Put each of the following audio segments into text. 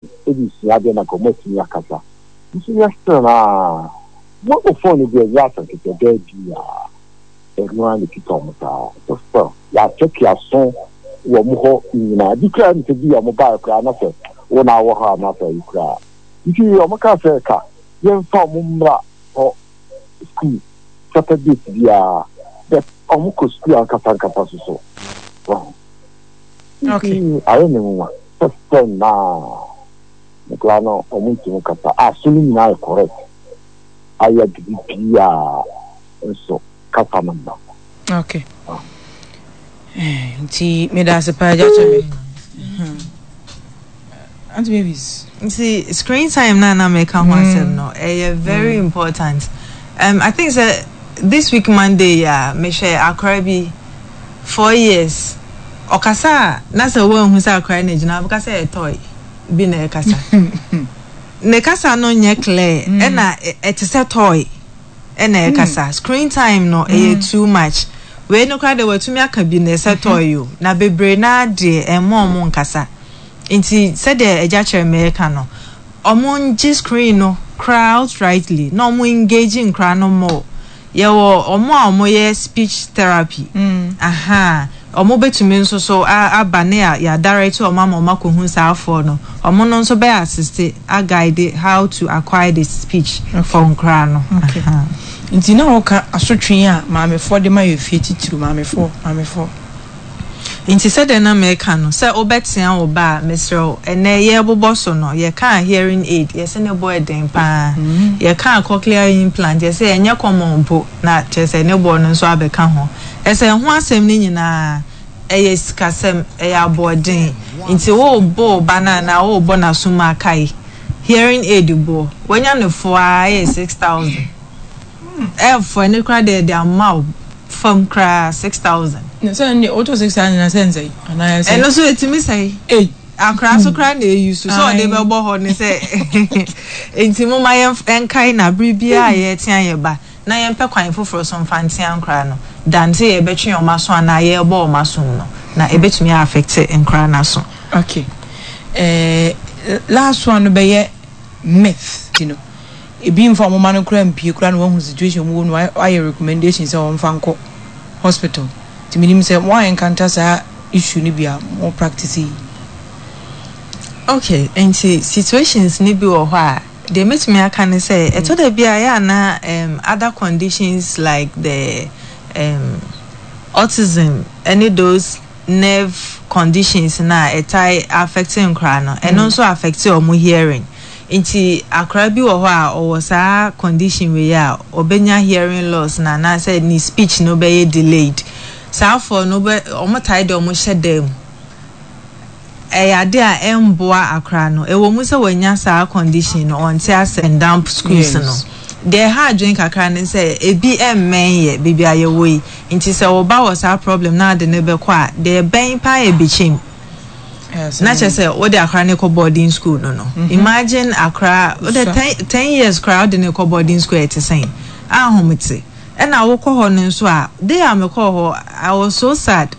De sua adeɛ na nka ɔmo atumi akasa nso yɛ still naa mo o phone no deɛ ɛnyɛ asɛm ketewa daabi aa ɛno ara na ɛkita ɔmo saa nso still yɛakyɛke aso wɔ ɔmo hɔ nyinaa bi koraa nisɛ bi a ɔmo baeɛ koraa na sɛ wo na awɔ hɔ a na sɛ ayi koraa nti ɔmo kaa sɛ ka yɛmfa ɔmo mmra hɔ school Saturdays biara but ɔmo kɔ school ankasa ankasa so so wahu. Okay. Nti ayɛ me nwonwa sɛ sɛ na nkwadaa no ɔmo ntumi kasa a so no nyinaa yɛ correct ayɛ biribiara nso kasa no mma. Okay. Eh, nti meda ase paa agya kyɛ me. Auntie Mavis. Nti screen time na na meka ho asɛm no ɛyɛ very important. I think sɛ this week Monday yi a mehwɛ akora bi 4 years, ɔkasa a na sɛ woanhu sɛ akora no gyina, wobɛka sɛ ɛyɛ toy bi na ɛkasa. Ne kasa no nyɛ clear, ɛna ɛte sɛ toy ɛna ɛkasa. Screen time no ɛyɛ too much. Wei no koraa deɛ watumi aka bi na ɛsɛ toy o, na bebree naa deɛ ɛmma ɔmo nkasa. Nti sɛdeɛ agya kyerɛ me ɛka no, ɔmo ngye screen no koraa outrightly na ɔmo engage nkora no more. Yɛwɔ ɔmo a ɔmo yɛ speech therapy, aha, ɔmo bɛtumi nso so aba ne a yɛ direct ɔmo ama ɔmo akɔhu saa afoɔ no. Ɔmo no nso bɛ assist a guide how to acquire the speech for nkora no. Aha. Nti na wɔka asotwe a maamefoɔ de ma yɛ fie, titiri maamefoɔ, maamefoɔ. Nti sɛdeɛ na meka no, sɛ wobɛtea wo ba a, mesrɛ wo, ɛnɛ yɛrebobɔ so no, yɛkaa hearing aid, yɛsɛ ne bɔ ɛden paa. Yɛkaa cochlear implant, yɛsɛ ɛnyɛ common mpo, na kyerɛ sɛ ne boɔ no nso abɛka ho. Ɛsɛ ho asɛm no nyinaa, ɛyɛ sikasɛm, ɛyɛ aboɔden. Nti worebɔ wo ba no anaa worebɔ n'asom a, kae, hearing aid boɔ, wanya no foɔ ara ɛyɛ 6,000. Ɛfo ɛno koraa deɛ yɛde ama wo fam koraa 6,000. Na sɛ ɛnde wotɔ 6,000 na sɛ nsɛe anaa ɛsɛe? Ɛno nso ɛtumi sɛe. Ei. Akora so koraa na ɛyi so sɛ ɔde bɛbɔ hɔ ne sɛ. Nti momma yɛnkae na bere biara a yɛretea yɛn ba na yɛmpɛ kwan foforɔ so mfa ntea nkoraa no than sɛ yɛbɛtwe wɔn aso anaa yɛrebɔ wɔn asom no, na ɛbɛtumi a affect nkoraa no aso. Okay. Eh, last one no bɛyɛ myth. Ti no, ebi mfa wɔn mma no koraa mpue koraa na wɔahu situation wɔn wɔ mu no, wɔayɛ recommendation sɛ wɔmfa nkɔ hospital. Nti menim sɛ mo a encounter saa issue no bi a mo practice yi. Okay, nti situations no bi wɔ hɔ a, deɛ mɛtumi aka ne sɛ, ɛtɔ da bi a ɛyɛ a na other conditions like the autism ɛne those nerve conditions no a ɛtae affect nkoraa no, ɛno nso affect wɔn hearing. Nti akwadaa bi wɔ hɔ a ɔwɔ saa condition wei a, ɔbɛnya hearing loss no anaasɛ ne speech no bɛyɛ delayed. Saa foɔ no wobɛ, wɔtae de wɔn hyɛ dan mu. Ɛyɛ adeɛ a ɛmboa akwadaa no. Ɛwɔ mu sɛ wanya saa condition no, ɔnte ase and dump schools no. Deɛ ɛha adwene kakra ne sɛ ebi mmɛn yɛ baabi a yɛwɔ yi. Nti sɛ wo ba wɔ saa problem na ade no bɛkɔ a, deɛ ɛbɛn paa yɛ Bekyem. Na kyerɛ sɛ wode akwadaa no kɔ boarding school no. Imagine akwadaa, wode 10 years koraa wode no kɔ boarding school, ɛte sɛn? Ahomete. Ɛna wokɔ hɔ no nso a, day a mekɔɔ hɔ, I was so sad.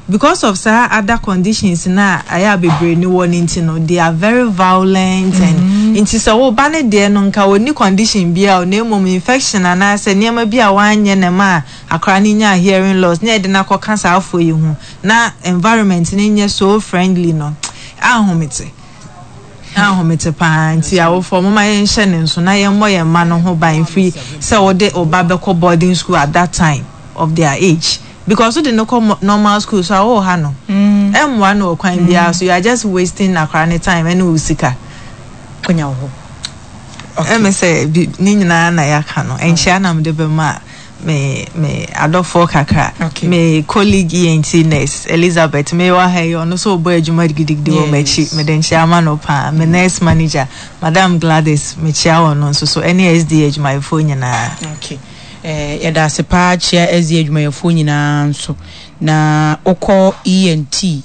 Because of saa other conditions na ayɛ a bebree ni wɔ ne nti no, they are very violent and nti sɛ wo ba ne deɛ no nka ɔnni condition biara o, na mmom infection anaasɛ nneɛma bi a wanyɛ na ɛma akwadaa no nyaa hearing loss na yɛde no akɔka saa afoɔ yi ho na environment no nyɛ so friendly no, ahomete. Ahomete paa. Nti awofoɔ, momma yɛnhyɛ ne nso na yɛmmɔ yɛn mma no ho ban firi sɛ wode wo ba bɛkɔ boarding school at that time of their age, because wode no kɔ normal school so a, wowɔ ha no, ɛmmoa no wɔ kwan biara so. You are just wasting akwadaa ne time ɛne wo sika. Konya wɔ hɔ. Ɛmɛ sɛ bi ne nyinaa na yɛaka no, nkyia na mede bɛma me adɔfoɔ kakra. Me colleague ENT nurse Elizabeth, me wɔ ha yi, ɔno nso ɔbɔ adwuma gidigidi wɔ m'akyi. Mede nkyia ama no paa. Me nurse manager, Madam Gladys, mekyia wɔn no nso so, ɛne SD adwumayɛfoɔ nyinaa. Okay. Eh, yɛda ase paa, kyia SD adwumayɛfoɔ nyinaa nso. Na wokɔ ENT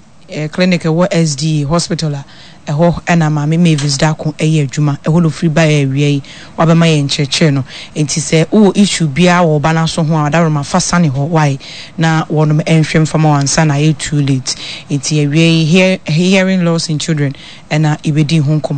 clinic ɛwɔ SD hospital a, Ɛhɔ na Maame Mavis Darko yɛ adwuma. Ɛhɔ na ɔfiri baeɛ awia yi, wabɛma yɛn nkyerɛkyerɛ no. Enti sɛ wowɔ issue biara wɔ wo ba no aso ho a, Adaworoma fa sane hɔ wai na wɔnom nhwɛ mfa ma wo ansa na ayɛ too late. Enti awia yi, hearing loss in children na yɛbɛdi ho nkɔmmɔ.